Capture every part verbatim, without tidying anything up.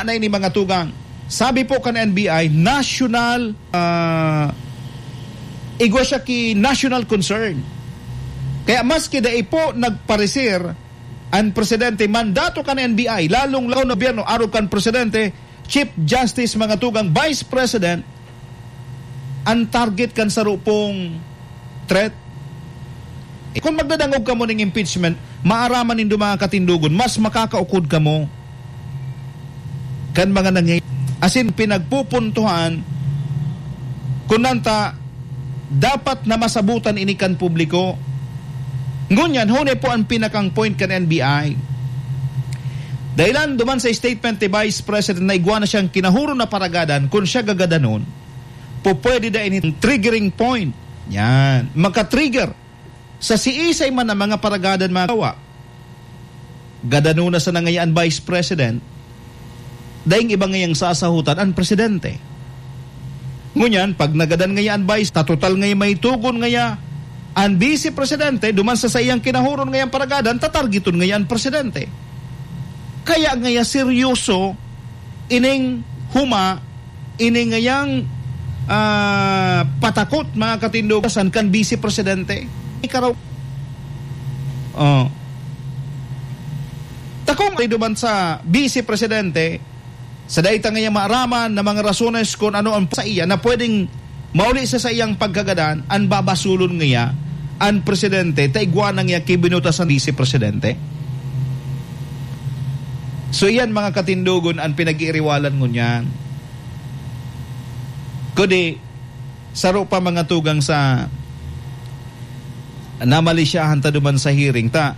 na ini, mga tugang. Sabi po kan N B I, national, ah, igwa siya ki national concern. Kaya maski dai po nagpareser an presidente, mandato kan N B I, lalong-lalo na gobyerno, arog kan presidente, Chief Justice, mga tugang, Vice President, an target kan saro pong threat. Eh, kung magdadangog kamo ning impeachment, maaraman nindo, mga katindogon, mas makakaukod kamo kan mga nangyay-, asin pinagpupuntuhan, kun nanta, dapat na masabutan ini kan publiko. Ngunyan, huni po an pinakang point kan N B I. Dahilan duman sa statement ni Vice President na igwa na siyang kinahuron na paragadan, kun siya gagadanon, pupwede da ini triggering point. Yan. Maka-trigger sa siisay man ang mga paragadan, mga kawa. Gadanon na sana ngaya an Vice President, daing iba ngayang sasahutan an presidente. Ngunyan, pag nagadan ngaya an Vice, tatotal ngaya may tugon ngaya an Vice Presidente, duman sa saiyang kinahuron ngayang paragadan, tatargeton ngaya an presidente. Kaya ngaya seryoso ining huma, ini ngayang, ah, patakot, mga katindogan, kan Vice Presidente. Ikaw, oh. Takong duman sa Vice Presidente, sa dai ta ngaya maaraman na mga rasones kun ano ang sa iya na pwedeng mauli sa saiyang pagkagadan, an babasulon ngaya an presidente, ta igwa na ngaya ki binutas an Vice Presidente. So, iyan, mga katindogon, an pinag-iiriwalan ngunyan. Kundi, saro pa, mga tugang, sa namalisyahan ta duman sa hearing ta.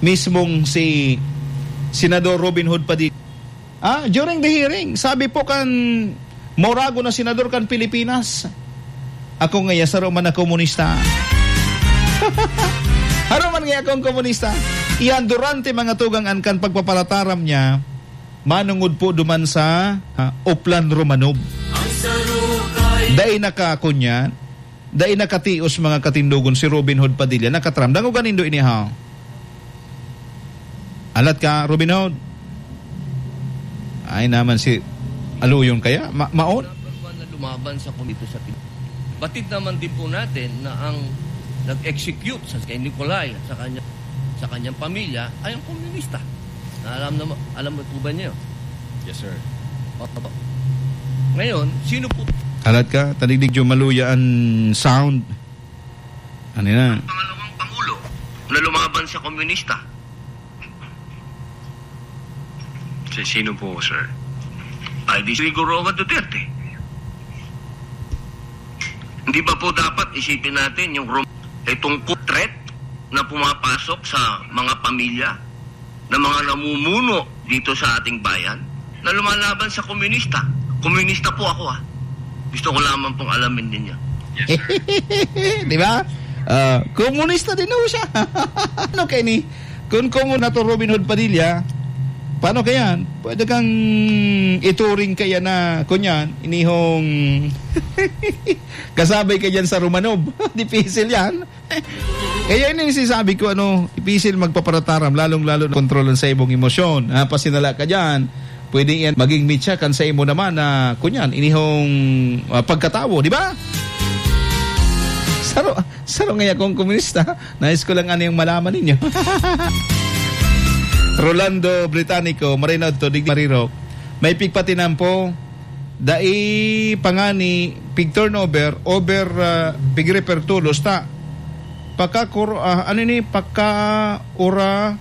Mismong si Senador Robin Hood Padilla, ah, during the hearing, sabi po kan maurago na senador kan Pilipinas, "Ako ngaya saro man na komunista." Haro man ngaya akong komunista. Iyan durante, mga tugang, an kan pagpaparataram niya, manungod po duman sa, ah, Oplan Romanov. Dai naka-, kunyan, dai nakatios, mga katindogon, si Robin Hood Padilla. Nakataram. Dangoga nindo ini, ha? Alat ka, Robin Hood? Ay naman si Aluyon kaya? Ma-, maon? Number one na lumaban sa komito sa Pilipinas. Batid naman din po natin na ang nag-execute sa kay Nicolay at sa kanya, sa kanyang pamilya ay ang komunista. Na alam na, alam mo po ba niyo? Yes, sir. Opo. Ngayon, sino po? Alat ka, tadigdig jo maluya an sound. Ano na? Ang pangalawang pangulo na lumaban sa komunista. Si sino po, sir? Ay, di si Rodrigo Roa Duterte. Hindi ba po dapat isipin natin yung rom-, itong threat na pumapasok sa mga pamilya, na mga namumuno dito sa ating bayan na lumalaban sa komunista? Komunista po ako, ah. Gusto ko lamang pong alamin ninyo. Yes, sir. Di ba? Ah, komunista din ho siya. Ano kaya ni? Kung komun-, na to, Robin Hood Padilla, paano kaya? Pwede kang ituring kaya na, kunyan, inihong kasabay ka dyan sa Romanov. Dipisil yan. Kaya ini yung sinasabi ko, ano, ipisil magpaparataram, lalong-lalo na kontrolan sa imong emosyon. Ha, pasinala ka dyan, pwede yan maging mitya kan sa imo naman na, kunyan, inihong, ah, pagkatawo, di ba? Saro, saro nga akong komunista. Nais ko lang ano yung malaman ninyo. Rolando Britannico, Marino to, Digdi Marirok. May pigpatinampo, dai pa ngani pig-turnover, over, ah, pig-refer tolos ta. Pagka kuro-, ah, ano ni, pagka ura,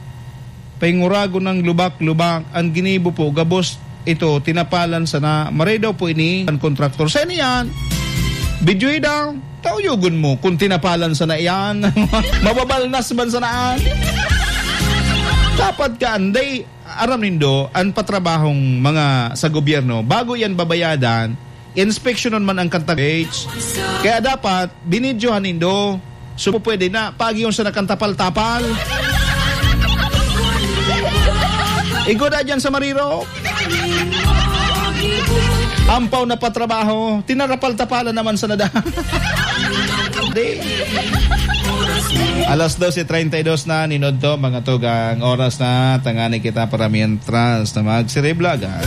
painguragon ng lubak-lubak, ang ginibo po, gabos ito, tinapalan sana, maray daw po ini, ang kontraktor. Sa ini yan, videoy daw, tauyogon mo, kung tinapalan sana yan, mababalnas man sanaan. Dapat ka, anday, aram nindo, an patrabahong mga sa gobyerno, bago yan babayadan, inspeksyonon man ang kanta page. Kaya dapat, binidyohan nindo, so pwede na, paagi yung sa nakantapal-tapal. Igo na dyan sa Mariro. Ampaw na patrabaho, tinarapal-tapalan naman sa nada. Di. Alas doce treinta y dos na, ninudto, mga tugang. Oras na, tangani kita para mientras na magsiriblagan.